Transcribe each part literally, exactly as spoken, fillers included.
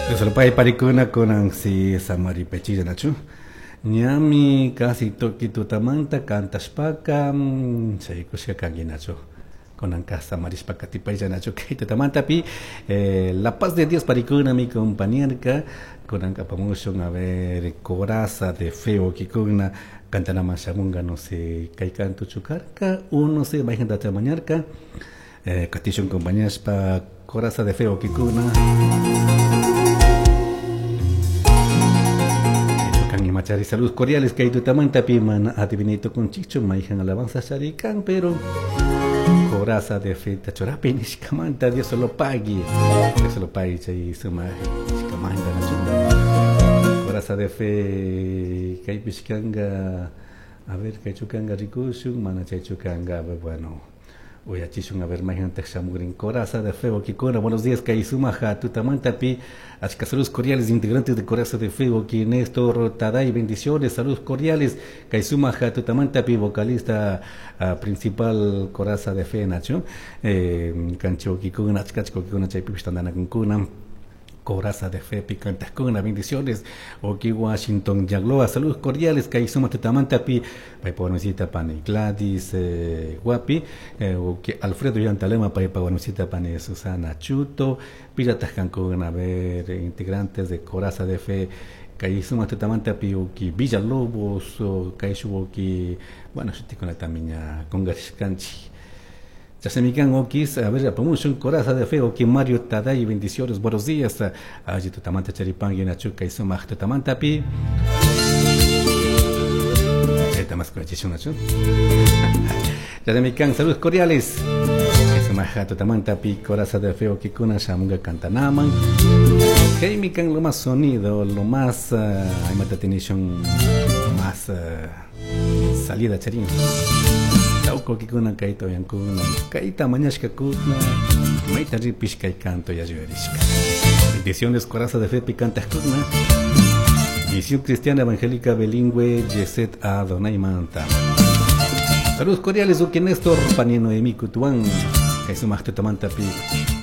Dios parikuna kunan si samari pechilla nachu. Ñami casi toki tutamanta kantashpaka chaykushka kanki nachu. Kunan ka samarishpaka tipaylla nachu kay tutamantapi eh, la paz de Dios parikuna mi compañerka kunan apamushun a ver coraza de feo kikuna kantanaman shamunga no sé kay kantu chukarka uno se mayjanta chamañarka eh, katishun compañashpa coraza de feo kikuna Machari, saludos cordiales que hay tu tamanta mana adivinito con chicho maijan alabanza charican pero coraza de fe tachorapi nishkamanta Dios lo pague Dios lo pague chay suma nishkamanta nacho coraza de fe kay pishkanga a ver kay chukanga rikushun mana chay chukanga bueno uyachishun a ver maijan shamurin coraza de fe kikuna buenos días kay sumaja tutamantapi achka saludos cordiales integrantes de Coraza de Fe ki Néstor Taday bendiciones saludos cordiales kay sumaja tutamantapi vocalista uh, principal Coraza de Fe nacho eh, kancho kikuna achka kikuna chaypi tandanakunkuna Coraza de Fe picantascuna bendiciones Oki Washington Yagloa saludos cordiales Kaizuma Tutamantapi Paipaguanusita Pani Gladys eh, Guapi eh, Oki Alfredo Yantalema Paipaguanusita Pani Susana Chuto Pillatascancuna a ver integrantes de Coraza de Fe Kaizuma Tutamantapi Oki Villalobos Kaishu Oki bueno shutikuna también congarishkanchi Chasemican okis, a ver, apamushun coraza de fe, oki Mario Taday, bendiciones, buenos días. Allí tutamanta charipangui, nachuca y sumaj tutamantapi. Chasemican, saludos cordiales. Sumaja tutamantapi, coraza de fe, oki kuna, shamunga cantanaman. Heimican, lo más sonido, lo más, uh, más uh, salida charín. Tauko kikuna kaita yankuna kaita mañashka kuna maita ripish kay canto ya yurishka. Bendiciones coraza de fe picante kuna. Misión Cristiana Evangélica Bilingüe Yeset Adonai Manta. Saludos cordiales uki Néstor Panino Emi Kutuan. Kaisumak tutamanta pi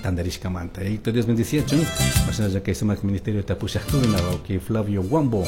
tandarishka manta. Y Dios bendice chun. Masana ya kaisumak ministerio tapushakuna uki Flavio Wambo.